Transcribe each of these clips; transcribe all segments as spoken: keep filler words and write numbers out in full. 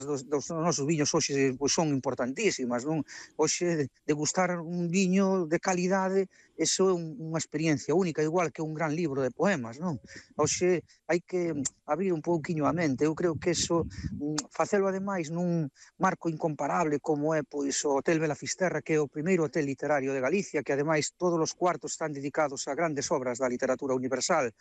dos, dos nosos viños hoxe pois, son importantísimas, non? Hoxe degustar un viño de calidade, eso é un, unha experiencia única, igual que un gran libro de poemas, non? Hoxe hai que abrir un pouquiño a mente, eu creo que eso, facelo ademais nun marco incomparable como é pois o Hotel Bela Fisterra, que é o primeiro hotel literario de Galicia, que ademais todos os cuartos están dedicados a grandes obras da literatura universal,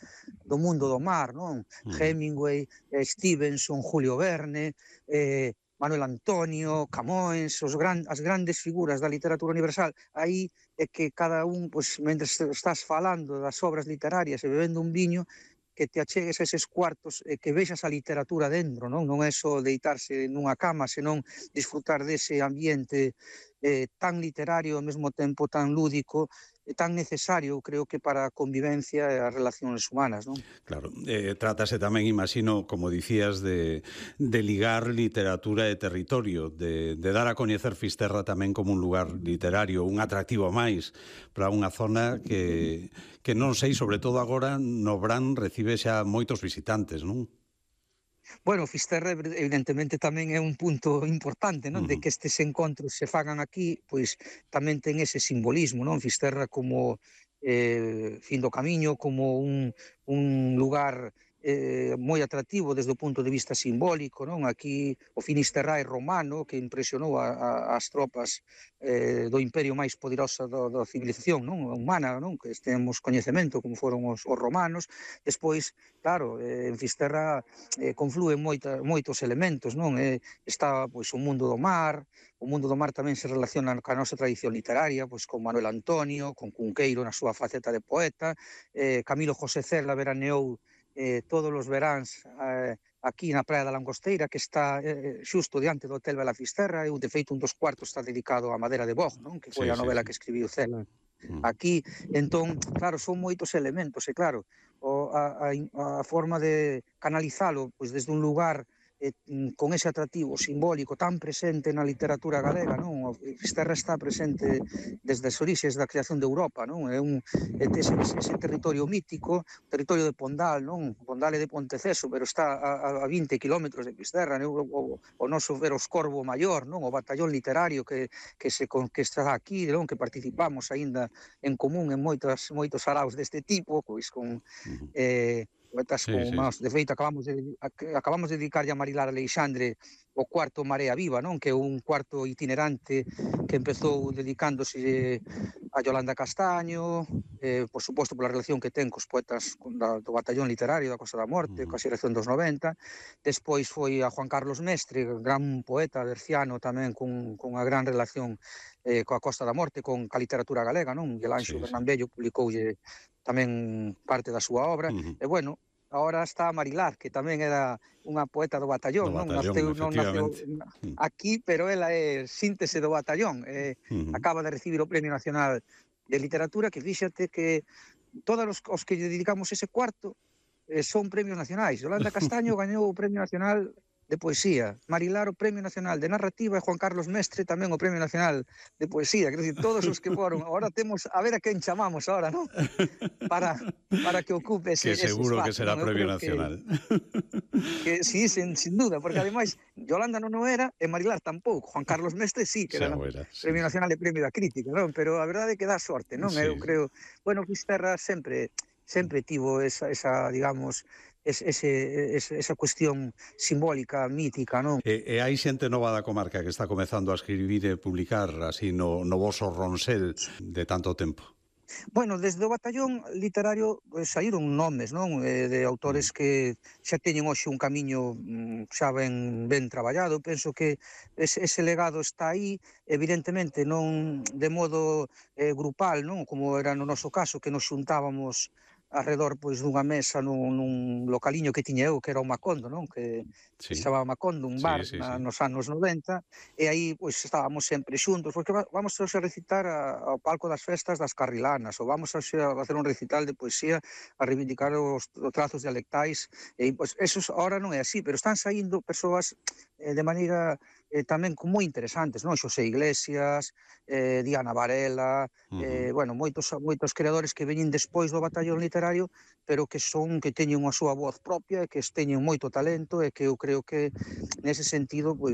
do mundo do mar, non? Mm. Hemingway, eh, Stevenson, Julio Verne, eh, Manuel Antonio, Camões, os gran, as grandes figuras da literatura universal. Aí é que cada un, pois, mentre estás falando das obras literarias e bebendo un viño, que te achegues a eses cuartos e que vexas a literatura dentro, non? Non é só deitarse nunha cama, senón disfrutar dese ambiente eh, tan literario, ao mesmo tempo tan lúdico, e tan necesario, creo que para a convivencia e as relacións humanas, non? Claro, eh, trátase tamén, imagino, como dicías, de, de ligar literatura e territorio, de, de dar a coñecer Fisterra tamén como un lugar literario, un atractivo máis para unha zona que, que non sei, sobre todo agora, no Brán recibe xa moitos visitantes, non? Bueno, Fisterra evidentemente tamén é un punto importante, non? Uh-huh. De que estes encontros se fagan aquí, pois tamén ten ese simbolismo, non? Fisterra como eh, fin do camiño, como un, un lugar eh, moi atractivo desde o punto de vista simbólico, non? Aquí o Finisterrae romano, que impresionou a, a, as tropas eh, do imperio máis poderosa do, da civilización, non? Humana, non? Que temos coñecemento como foron os, os romanos. Despois, claro, eh, en Fisterra eh, confluen moita, moitos elementos, non? Eh, está pois o mundo do mar, o mundo do mar tamén se relaciona ca nosa tradición literaria, pois con Manuel Antonio, con Cunqueiro na súa faceta de poeta, eh, Camilo José Cela veraneou eh, todos os veráns eh, aquí na Praia da Langosteira, que está eh, xusto diante do Hotel Bela Fisterra, e de feito un dos cuartos está dedicado á madera de boj, non? Que foi sí, a novela sí, que escribiu Cela aquí. Entón, claro, son moitos elementos, e claro, o, a, a, a forma de canalizalo pois desde un lugar eh, con ese atractivo simbólico tan presente na literatura galega, non? O Fisterra está presente desde as orixes da creación de Europa, non? É un ese, ese territorio mítico, territorio de Pondal, non? Pondal é de Ponteceso, pero está a, a vinte kilómetros de Fisterra, non? O, o, o noso Veroscorvo Maior, non? O batallón literario que, que, se, que está aquí, non? Que participamos aínda en común en moitos, moitos araos deste tipo, pois con eh, poetas sí, como, sí. De feito, acabamos de, acabamos de dedicarlle a Marilar Aleixandre o cuarto Marea Viva, non? Que é un cuarto itinerante que empezou dedicándose a Yolanda Castaño, eh, por suposto pola relación que ten cos poetas da, do batallón literario da Costa da Morte, uh-huh. Coa xeración dos noventa. Despois foi a Juan Carlos Mestre, gran poeta berciano tamén con, con a gran relación eh, coa Costa da Morte, con a literatura galega, non? Miguel Anxo sí, Bernambello publicoulle tamén parte da súa obra, uh-huh. E bueno, agora está Marilar, que tamén era unha poeta do batallón, do non? batallón, Naceu, non naceu aquí, pero ela é síntese do batallón, eh, uh-huh. Acaba de recibir o Premio Nacional de Literatura, que fíxate que todos os, os que dedicamos ese cuarto eh, son premios nacionais. Yolanda Castaño gañou o Premio Nacional de Poesía, Marilar o Premio Nacional de Narrativa e Juan Carlos Mestre tamén o Premio Nacional de Poesía. Quero dicir, todos os que foron. Agora temos, a ver a quen chamamos agora, non? Para, para que ocupe ese, que seguro ese espacio, que será ¿no? Premio Nacional. Que, que sí, sin, sin duda, porque ademais Yolanda non o era e Marilar tampouco. Juan Carlos Mestre sí, que era, era sí, Premio Nacional e Premio da Crítica, non? Pero a verdade é que dá sorte, non? Sí. Eu creo, bueno, Fisterra sempre sempre tivo esa, esa digamos, ese, ese, esa cuestión simbólica, mítica, non? E, e hai xente nova da comarca que está comezando a escribir e publicar así no, no voso Ronsel de tanto tempo. Bueno, desde o batallón literario pues, saíron nomes, non? Eh, de autores que xa teñen hoxe un camiño xa ben, ben traballado. Penso que ese, ese legado está aí, evidentemente non de modo eh, grupal, non? Como era no noso caso, que nos xuntábamos arredor pois dunha mesa nun, nun localiño que tiña eu, que era o Macondo, non? Que sí. Se chamaba Macondo, un bar sí, sí, na, sí. Nos anos noventa, e aí pois estábamos sempre xuntos, porque vamos a recitar a, ao palco das festas das Carrilanas, ou vamos a, a facer un recital de poesía a reivindicar os, os trazos dialectais, e pois eso ahora non é así, pero están saindo persoas eh, de maneira eh, tamén como moi interesantes, non? Xosé Iglesias, eh, Diana Varela, Uh -huh. eh, bueno, moitos moitos creadores que veñen despois do batallón literario, pero que son que teñen a súa voz propia e que teñen moito talento e que eu creo que nese sentido, pois